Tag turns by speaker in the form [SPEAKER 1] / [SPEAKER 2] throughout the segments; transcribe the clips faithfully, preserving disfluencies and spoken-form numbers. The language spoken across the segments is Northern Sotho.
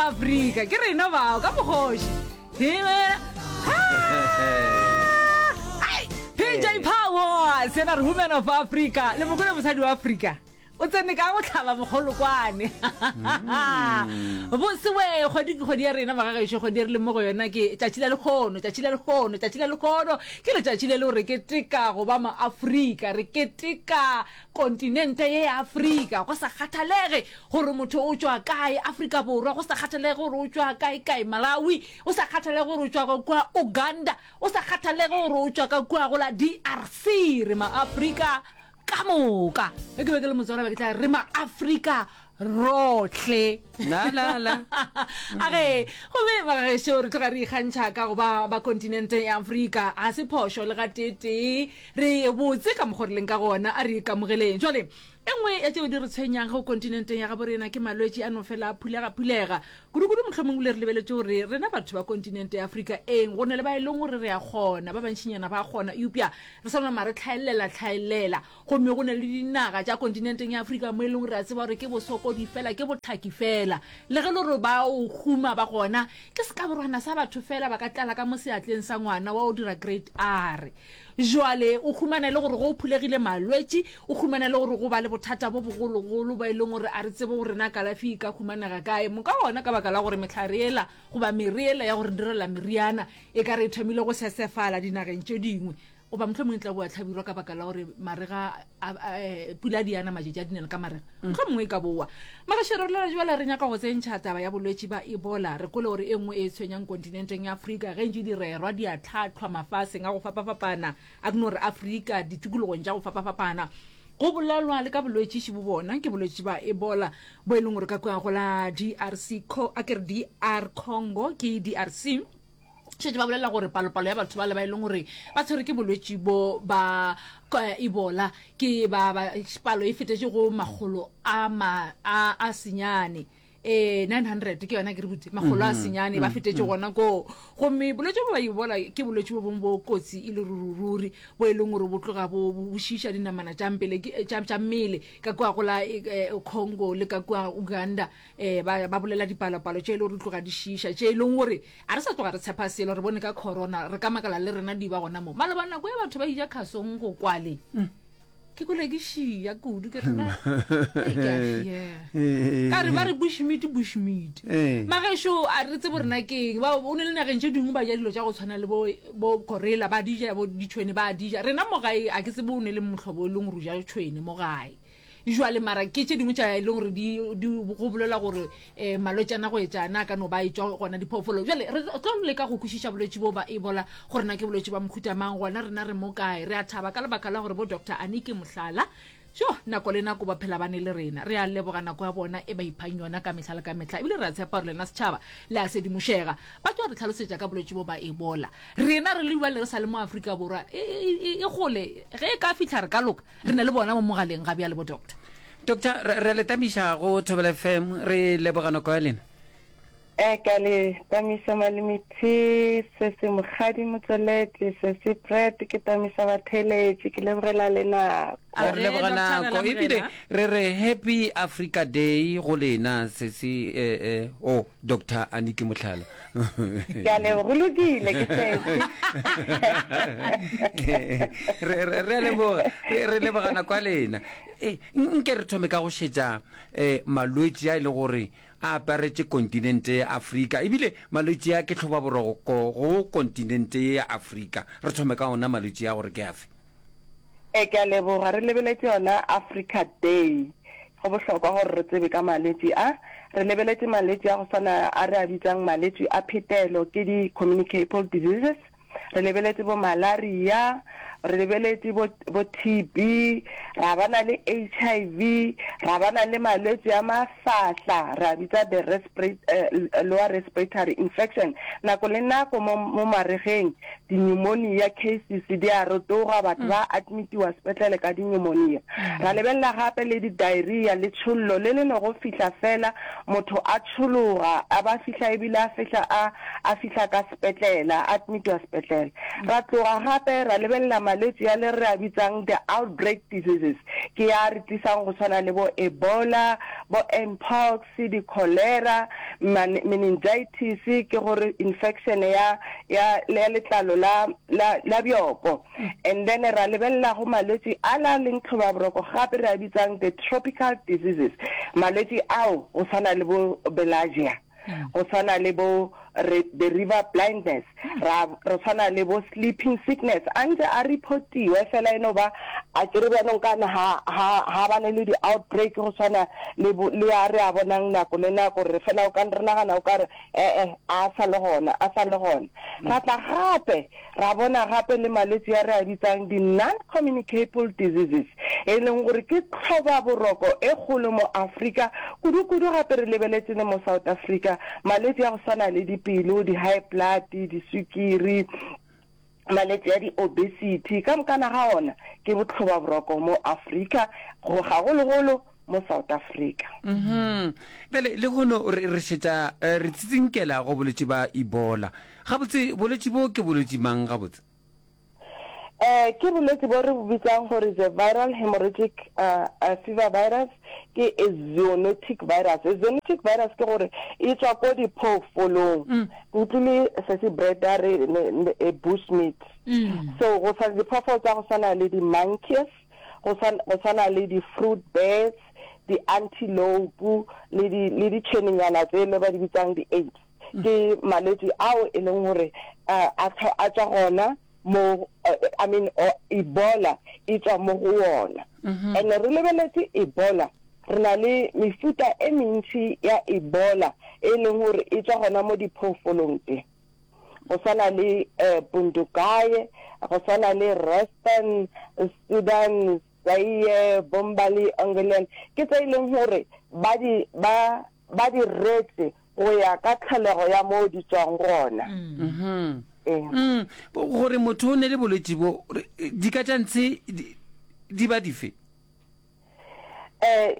[SPEAKER 1] Afrika ke rena bao ka mokgoši P J Power sena re Women of Africa le mokole mosadi wa Afrika o tsene ka go tlhaba mogolokwane bosewe kgwedi ke kgwedi ya rena magagešo kgwedi e re leng mo go yona ke tšatši la lekgono tšatši la lekgono tšatši la lekgono ke letšatši le le gore keteka go ba maafrika re keteka kontinente ye ya Afrika go sa kgathalege gore motho o tšwa kae Afrika Borwa go sa kgathalege gore o tšwa kae kae Malawi o sa kgathalege gore o tšwa ka kua Uganda o sa kgathalege gore o tšwa ka kua go la D R C re maafrika ka moka ge ke be ke le motswala be ke tla re maafrika rohle
[SPEAKER 2] la la la
[SPEAKER 1] a ge gomme bagešo re tloga re ikgantšha ka go ba ba kontinente ya Afrika ga se phošo le gateetee re botse ka mokgwa re leng ka gona a re ikamogeleng jwale e nngwe ya tšeo di re tshwenyang go kontinenteng ya gabo rena ke malwetši a no fela a phulega-phulega kudu-kudu mohlomong le re lebeletše gore rena batho ba kontinente ya Afrika eng go ne le ba e leng gore re a kgona ba bantšinyana ba kgona eupša re sa nama re tlhaelela tlhaelela gomme go ne le dinaga tša kontinenteng ya Afrika mo e leng gore re a tseba gore ke bosokodi fela ke botlhaki fela le ge le gore ba o huma ba gona ke sekaborwana sa batho fela ba ka tlala ka mo seatleng sa ngwana wa o dira grade R jwale o humana e le gore go o phulegile malwetši o humana e le gore go ba le bothata bo bogologolo ba e leng gore a re tsebe gore na kalafi e ka humanega kae moka gona ka baka la gore mehlare ela goba mere ela ya gore direla meriana e ka re e thomile go sesefala dinageng tše dingwe goba mohlomongwe e tla boa tlhabirwa ka baka la gore marega a, pula di ana matšatši a dinela ka marega mohlomongwe e ka boa magašero re jwale re nyaka go tsentšha taba ya bolwetši ba Ebola re kole gore e nngwe e tshwenyang kontinenteng ya Afrika ge ntše di rerwa di a tlhatlhwa mafaseng a go fapafapana a ke no re Afrika ditikologong tša go fapafapana go bolelwa le ka bolwetši bo bona ke bolwetši ba Ebola bo e leng gore ka kua go la D R C a ke re D R Congo ke D R C šetše ba bolela gore palopalo ya batho ba le ba e leng gore ba tshwere ke bolwetši bo ba Ebola ke ba ba palo e fetetše go makgolo a ma a a senyane eh nine hundred ke yona ke re botse makgolo a senyane ba fetetše gona koo gomme bolwetši bo ba Ebola ke bolwetši bo bongwe bo kotsi e le rurururi bo e leng gore bo tloga bo bo šiiša dinamana tša mpele tša mmele ka kua go la Congo le ka kua Uganda um ba ba bolela dipalopalo tše e le gore di tloga di šiiša tše e leng gore a re sa tloga re tshepa selo re bone ka corona re ka makala le rena di ba gona mo maloba nako ya batho ba ija khasong go kwale ke kole ke šia kudu ke rena ka re ba re bushmeat bushmeat magešo a re tsebe rena keng ba o ne le nageng tše dingwe ba ja dilo tša go tshwana le bo bo gorilla ba di ja bo ditšhwene ba di ja rena mo gae a ke tsebe o ne le mohlobo o leng gore o ja tšhwene mo gae jwale mara ke tše dingwe tša e leng gore di go bolela gore um malwetšana go etšana a ka no ba e tšwa gona diphoofolo jale re tlo leka go kwešiša bolwetši bo ba Ebola gore na ke bolwetši ba mohuta mang gona rena re mo kae re a thaba ka lebaka la gore bo Doctor Aniki Mohlala jo nako le nako ba phela bane le rena re a leboga nako ya bona e ba iphang yona ka mehla le ka mehla ebile re a tshepa gore lena setšhaba le a sedimošega ba tlo re tlhalosetša ka bolwetši bo ba Ebola rena re le bjale re sa le mo Afrika Borwa e gole ge e ka fihla re ka loka re na le bona mo mogaleng ga bjale bo doctor.
[SPEAKER 2] Doctor re le tamiša go Thobela F M re leboga nako ya lena.
[SPEAKER 3] E ka le tamisa malemithi se se mogadi motswelete se se pret ke tamisa batheletši ke lebogela le nako.
[SPEAKER 2] Re leboga nako ebile re re happy Africa Day go lena se se eh, eh, oh Doctor Aniki Mohlala.
[SPEAKER 3] Ke a leboga go lokile ke setse.
[SPEAKER 2] re re re a leboga re re leboga nako ya lena e nke re thome ka go šetša um malwetši a e le gore a aparetše kontinente ya Afrika ebile malwetši a ke tlhobaboroko go kontinente ye ya Afrika re thome ka ona malwetši a gore ke afe.
[SPEAKER 3] E ke a leboga re lebeletše yona Africa Day go bohlokwa gore re tsebe ka malwetši a re lebeletše malwetši a go swana a re a bitsang malwetši a phetelo ke di-communicable diseases re lebeletše bo malaria re lebeletše bo, bo T B ra bana le H I V ra bana le malwetši a mafahla re a bitsa the respirate, uh, lower respiratory infection nako le nako mo, mo maregeng di-pneumonia cases di a rotoga batho ba admitiwa sepetlele ka di-pneumonia ra lebelela gape le di-diarrhea le tšhollo le le no go fihla fela motho a tšhologa a ba fihla ebile a fihla a a fihla ka sepetlela a admitiwa sepetlele ra tloga gape ra lebelela malwetši malwetši a le re a bitsang the outbreak diseases, ke a re tlisang go swana le bo Ebola, bo Mpox, di-cholera, meningitis, ke gore infection ya, ya, ya letlalo la, la, la bjoko. And then ra lebelela go malwetši a la leng tlhobaboroko gape re a bitsang the tropical diseases, malwetši ao go swana le bo bilharzia, go swana le bo re, the river blindness, ra, re swana le bo sleeping sickness, a ntse a reportiwe fela e no ba a ke re bjanong kana ha, ha, ha bane le di-outbreak go swana le, bo, le a re a bonang nako le nako, re fela o ka re nagana o ka re ee a sa le gona, a sa le gona. Ra tla gape ra bona gape le malwetši a re a bitsang di-non-communicable diseases, e leng gore ke tlhobaboroko e kgolo mo Afrika, kudu-kudu gape re lebeletše le mo South Africa, malwetši a go swana le dipelo, di-high blood, diswikiri, malwetši a di-obesity, ka mokana ga ona ke botlhobaboroko mo Afrika, go gagologolo mo South Africa.
[SPEAKER 2] Mhm. Bjale lehono re re šetša eh, re tsitsinkela go bolwetši ba Ebola. Gabotse bolwetši bo ke bolwetši mang gabotse?
[SPEAKER 3] Eh, ke bolwetši bo re bo bitsang gore the viral hemorrhagic uh, uh, fever virus, ke a zoonotic virus. A zoonotic virus ke gore e tswa ko diphoofolong. Ke utlwile sesi Brenda re ne, ne, a bush meat. So go swana diphoofolo tsa go swana le di-monkeys, go swana, go swana le di-fruit bats, di-antelope le di le ditšhwenenyana tsele ba di bitsang di-apes. Ke malwetši ao e leng gore uh, a a tswa gona mo uh, I mean uh, Ebola e tswa mo go wona. And re lebeletše Ebola, re na le mefuta e mentši ya Ebola e leng gore e tswa gona mo diphoofolong tse. Go swana le uh, Bundugaye, go swana le Reston, Sudan, Zaire, Bombali, Angolan, ke tse e leng gore ba di ba ba di retse go ya ka tlholego ya mo di tswang gona.
[SPEAKER 2] Mhm.
[SPEAKER 3] Ee.
[SPEAKER 2] Mm, gore motho o ne le bolwetši bo re- di ka tša ntshe di, di ba dife?
[SPEAKER 3] Eh,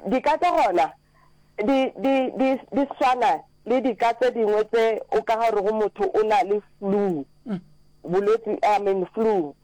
[SPEAKER 3] dika tša gona di di di di swana le dika tse dingwe tse o ka ga rego motho o na le flu, bolwetši, I mean flu.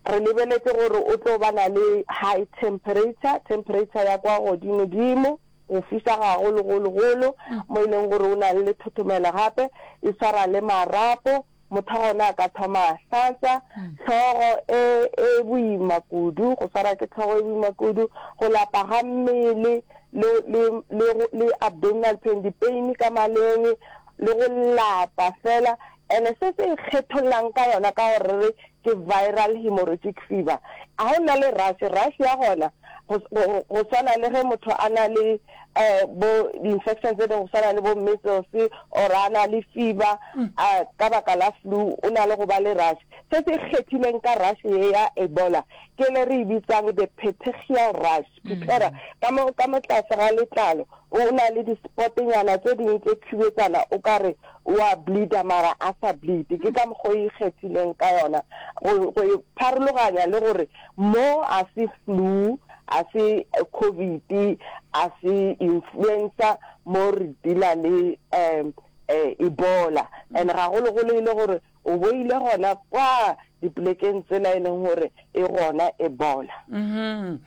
[SPEAKER 3] Re lebeletše gore o tlo ba na le high temperature, temperature ya kwa godimo-dimo, go fiša gagolo-golo-golo, mo e leng gore o na le lethothomelo gape, e swara le marapo, motho wa gona a ka thoma a hlatša, hlogo e e boima kudu, go swara ke hlogo e boima kudu, go lapa ga mmele, le le le le abdominal pain, dipeini ka maleng, le go lapa fela. Ene se se ikgethollang ka yona ka gore re ke viral hemorrhagic fever, ga o na le rash, rash ya gona go go go swana le ge motho a na le eh bo di-infection tse dingwe go swana le bo measles or a na le fever uh, ka baka la flu, o na le go ba le rash. Se se ikgethileng ka rash ye ya Ebola ke le re e bitsang the petechial rash, pipera ka mo ka mo tlase ga letlalo o na le di-spotnyana tse dingwe tse khubetsana, o ka re wa bleeda mara a sa bleed. Ke ka mokgwa o e ikgethileng ka yona go go e pharologanya le gore mo a se flu, a se COVID, a se influenza, mo re deala le um Ebola. And gagologolo e le gore o boile gona kwa dipolekeng tsela e leng gore e gona Ebola.
[SPEAKER 2] Mhm.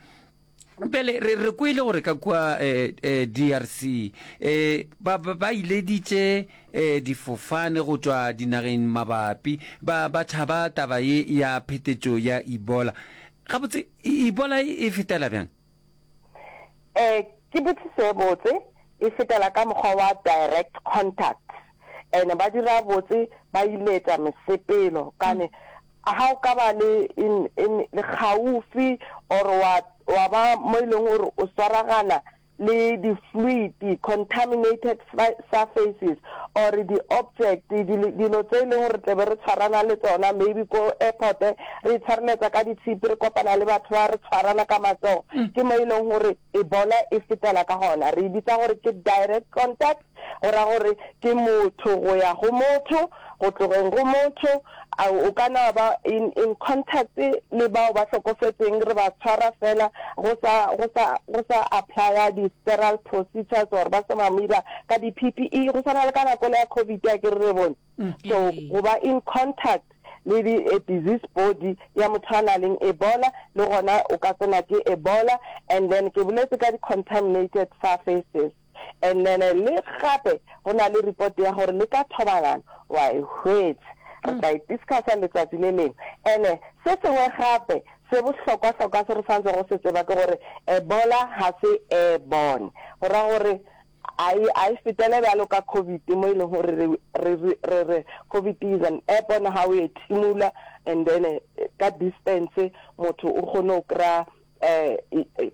[SPEAKER 2] Pele re re kwele gore ka kua eh, eh, D R C eh, ba ba ba ileditše eh, difofane go tšwa dinageng mabapi, ba ba tšhaba taba ye ya phetetšo ya Ebola. Gabotse Ebola e fetela bjang?
[SPEAKER 3] Eh, ke botsiso e botse, e fetela ka mokgwa wa direct contact. And ba dira botse ba iletsa mesepelo kane ha o ka ba le in in le kgaufi or wa wa ba mo e leng gore o swaragana le di-fluid, contaminated surfaces or di-object, dilo tse e leng gore tlebe re tshwarana le tsona, maybe ko airport re itshwareletsa ka ditshipi, re kopana le batho ba re tshwarana ka matsogo, ke mo e leng gore Ebola e fetela ka gona. Re e bitsa gore ke direct contact, go ra gore ke motho go ya go motho, go tlogeng go motho, o ka na ba in in contact le bao ba hlokofetseng, re ba tshwara fela go sa go sa go sa applya di-sterile procedures or ba se ba dira ka di-P P E, go swana le ka nako le ya COVID, a ke re re bone. So go ba in contact le di disease body ya motho a na leng Ebola le gona o ka tsena ke Ebola and then ke boletse ka di contaminated surfaces and then le gape go na le report ya gore le ka thobalano wa e hwetša re tla e discussa letsatsi le lengwe ene se sengwe gape se bohlokwa-hlokwa se re santse go se tseba ke gore Ebola ga se airborne go ra gore a e a e fetele bjalo ka COVID mo e leng gore re re re re COVID is an airborne ha o e thimula and then ka distance motho o kgone go kry-a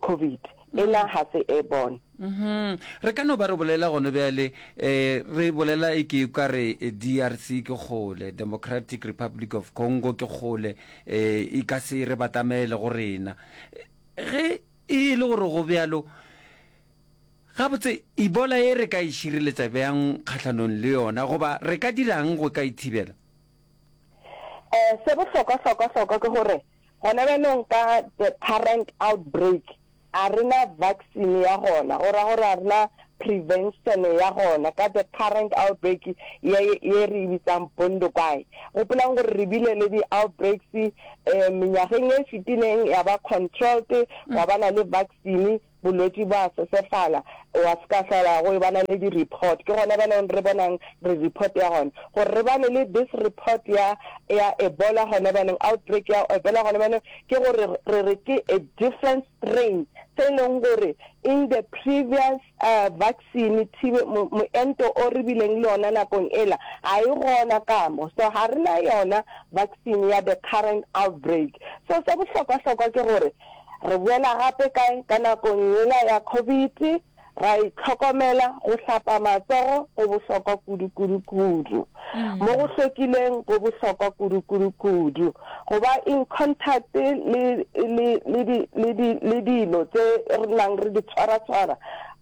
[SPEAKER 3] COVID ena ga se airborne.
[SPEAKER 2] Mhm. Re ka no ba re bolela gone bjale, eh, re bolela e ke ka re D R C ke kgole, Democratic Republic of Congo ke kgole, eh, e ka se re batamele go rena. Ge e le gore go bjalo, gabotse Ebola e re ka e šireletša bjang kgahlanong le yona, goba re ka dirang go ka e thibela?
[SPEAKER 3] Eh, se bohlokwa-hlokwa-hlokwa ke gore gona bjanong ka the current outbreak a rena vaccine ya gona, go ra gore a rena prevention ya gona ka the current outbreak ye ye re e bitsang Bundibugyo. Gopolang gore re bile le di-outbreaks eh, menyageng e fetileng ya ba controlled, wa ba na le vaccine, bolwetši ba sesefala, wa se ka hlola go bana le di-report. Ke gona bjanong re bonang re report ya gona gore re bane le this report ya ya Ebola gona bjanong, outbreak ya Ebola gona bjanong, ke gore re re ke a different strain se e leng gore in the previous uh, vaccine thibe moento o re bileng le yona nakong ela ga e gona ka mo, so ga re na yona vaccine ya the current outbreak. So se bohlokwa-hlokwa ke gore re boela gape kae ka nakong yela ya COVID, ra itlhokomela, go hlapa matsogo go bohlokwa kudu-kudu-kudu, mo go hlwekileng go bohlokwa kudu-kudu-kudu, go ba in contact le le le di le di le dilo tse re nang re di tshwara-tshwara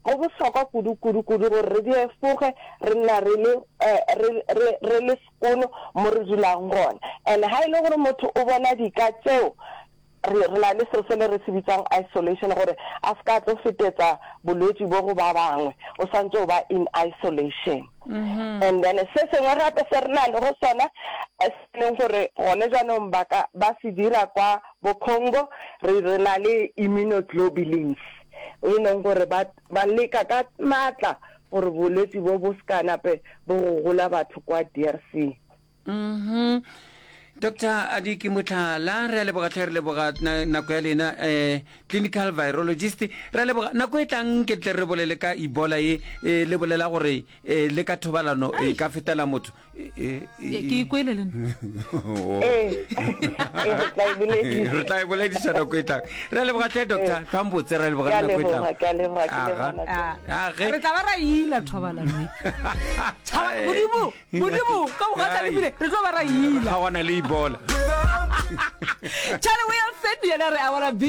[SPEAKER 3] go bohlokwa kudu-kudu-kudu gore re di efoge, re nna re le re re re le sekono mo re dulang gona. And ha e le gore motho o bona dika tseo, re re na le seo se le re se bitsang isolation, gore a se ka tlo fetetsa bolwetši bo go ba bangwe, o santse o ba in isolation. And then se sengwe gape se re na le go sona se leng gore gone jaanong ba ka ba se dira kwa bo Congo, re re na le immunoglobulins e leng gore ba ba leka ka maatla gore bolwetši bo bo se ka nape bo go gola batho kwa D R C.
[SPEAKER 2] Mhm. Doctor Adiki Motlhala, re a leboga tlhe, re leboga nako ya lena, eh clinical virologist. Re a leboga. Nako e tlang ke tle re bolele ka Ebola e le bolela gore le ka thobalano e ka fetela motho.
[SPEAKER 1] Ke ikwele le nna.
[SPEAKER 3] Ee, re tla e boledisa.
[SPEAKER 2] Re tla e boledisa nako e tlang. Re a leboga tlhe, doctor. Tlhwambotse, re a leboga nako e tlang.
[SPEAKER 3] Ke a leboga, ke leboga.
[SPEAKER 1] Re tla ba ra ila thobalano. Modimo, Modimo, ka bogatla lebile, re tlo ba ra ila.
[SPEAKER 2] Ga gona le Ebola.
[SPEAKER 1] Charlie Wilson yena re, I wanna be